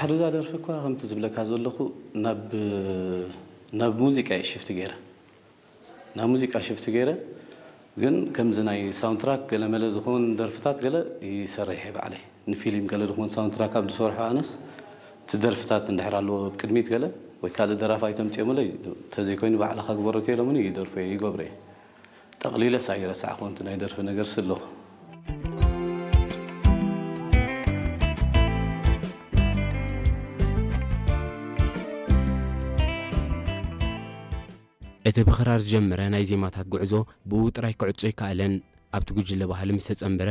ድሕሪ እዛ ደርፊ እኳ ከምቲ ዝብለካ ዘለኹ ናብ ናብ ሙዚቃ እየ ሽፍት ገይረ። ናብ ሙዚቃ ሽፍት ገይረ፣ ግን ከምዚ ናይ ሳውንትራክ ገለመለ ዝኾን ደርፍታት ገለ ይሰርሕ እየ ባዕለይ። ንፊልም ገለ ዝኾን ሳውንትራክ ኣብ ዝሰርሖ ኣነስ እቲ ደርፍታት እንድሕር ኣለዎ ኣብ ቅድሚት ገለ ወይ ካልእ ደራፋይ ተምፅኦምለይ፣ ተዘይኮይኑ ባዕልኻ ግበሮ ተኢሎምኒ ይደርፎ እየ፣ ይገብሮ እየ። ጠቕሊለስ ኣይረሳዕኹን እቲ ናይ ደርፊ ነገር ስልኹ። እቲ ብኽራር ዝጀመረ ናይ ዜማታት ጉዕዞ ብኡ ጥራይ ክዕጾ ኣይከኣለን። ኣብቲ ጉጅለ ባህሊ ምስ ተጸንበረ፣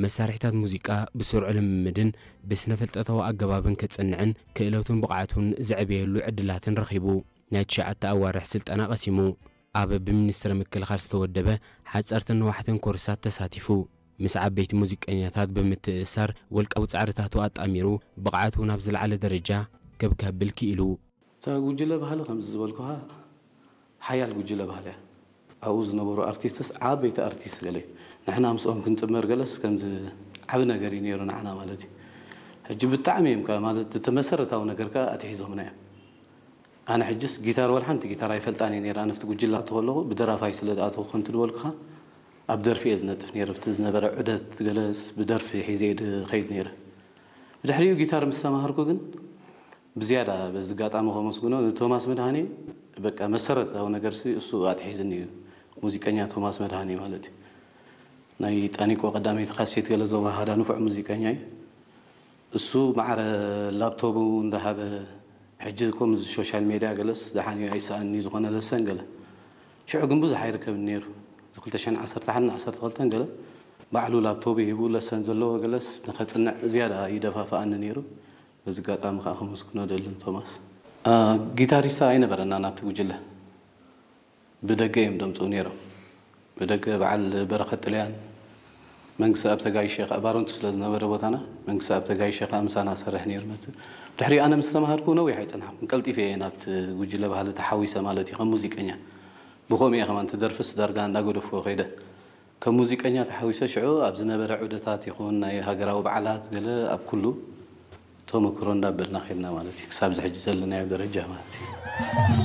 መሳርሒታት ሙዚቃ ብስሩዕ ልምምድን ብስነ-ፍልጠታዊ ኣገባብን ከጽንዕን ክእለቱን ብቕዓቱን ዘዕብየሉ ዕድላትን ረኺቡ። ናይ ትሽዓተ ኣዋርሕ ስልጠና ቀሲሙ። ኣብ ብሚኒስትሪ ምክልኻል ዝተወደበ ሓጸርትን ነዋሕትን ኮርሳት ተሳቲፉ። ምስ ዓበይቲ ሙዚቀኛታት ብምትእስሳር፣ ወልቃዊ ጻዕርታቱ ኣጣሚሩ፣ ብቕዓቱ ናብ ዝለዓለ ደረጃ ከብ ከብል ክኢሉ። እታ ጉጅለ ባህሊ ከምዚ ዝበልኩኻ ሓያል ጉጅለ ባህሊ እያ። ኣብኡ ዝነበሩ ኣርቲስትስ ዓበይቲ ኣርቲስት ገለ እዩ። ንሕና ምስኦም ክንጽመር ገለስ ከምዚ ዓቢ ነገር እዩ ነይሩ ንዓና ማለት እዩ። ሕጂ ብጣዕሚ እዮም ከ ማለት እቲ መሰረታዊ ነገር ከ ኣትሒዞምና እዮም። ኣነ ሕጅስ ጊታር ወላ ሓንቲ ጊታር ኣይፈልጣን እየ ነይረ። ኣነ ኣብቲ ጉጅለ ክኣቱ ከለኹ ብደራፋይ ስለ ዝኣተኹ ከምቲ ዝበልኩኻ ኣብ ደርፊ እየ ዝነጥፍ ነይረ። ኣብቲ ዝነበረ ዑደት ገለስ ብደርፊ ሒዘ እየ ዝኸይድ ነይረ። ብድሕሪኡ ጊታር ምስ ተማሃርኩ ግን ብዝያዳ በዚ ኣጋጣሚ ከመስግኖ ንቶማስ መድሃኔ በቃ መሰረታዊ ነገርሲ እሱ ኣትሒዝኒ እዩ። ሙዚቀኛ ቶማስ መድሃኔ ማለት እዩ። ናይ ጣኒቆ ቀዳመይቲ ካሴት ገለ ዘወሃሃዳ ንፉዕ ሙዚቀኛ እዩ። እሱ ማዕረ ላፕቶቡ እንዳሃበ ሕጂ እኮ ምስ ሶሻል ሜድያ ገለስ ደሓን እዩ ኣይሰኣንኒ ዝኾነ ለሰን ገለ ሽዑ ግን ብዙሕ ኣይርከብን ነይሩ። እዚ ክልተ ሽሕን ዓሰርተ ሓደን ዓሰርተ ክልተን ገለ ባዕሉ ላፕቶቡ ሂቡ ለሰን ዘለዎ ገለስ ንኸጽንዕ ዝያዳ ይደፋፍኣኒ ነይሩ። በዚ ኣጋጣሚ ከዓ ከመስግኖ ደልን ቶማስ። ጊታሪስታ ኣይነበረና ናብቲ ጉጅለ። ብደገ እዮም ደምፅኡ ነይሮም። ብደገ በዓል በረኸት ጥልያን መንግስቲ ኣብ ተጋይሸ ከዓ ባሮንቱ ስለ ዝነበረ ቦታና መንግስቲ ኣብ ተጋይሸ ከዓ ምሳና ሰርሕ ነይሩ መፅእ። ድሕሪ ኣነ ምስ ተማሃርኩ ነዊሕ ኣይፀናሕኩን ቀልጢፈ እየ ናብቲ ጉጅለ ባህሊ ተሓዊሰ ማለት እዩ ከም ሙዚቀኛ። ብኸምኡ እየ ከማን እቲ ደርፍስ ዳርጋ እንዳገደፍዎ ከይደ። ከም ሙዚቀኛ ተሓዊሰ ሽዑ ኣብ ዝነበረ ዑደታት ይኹን ናይ ሃገራዊ በዓላት ገለ ኣብ ኩሉ ተመክሮ እንዳበልና ከድና ማለት እዩ ክሳብ ዝሕጂ ዘለናዮ ደረጃ ማለት እዩ።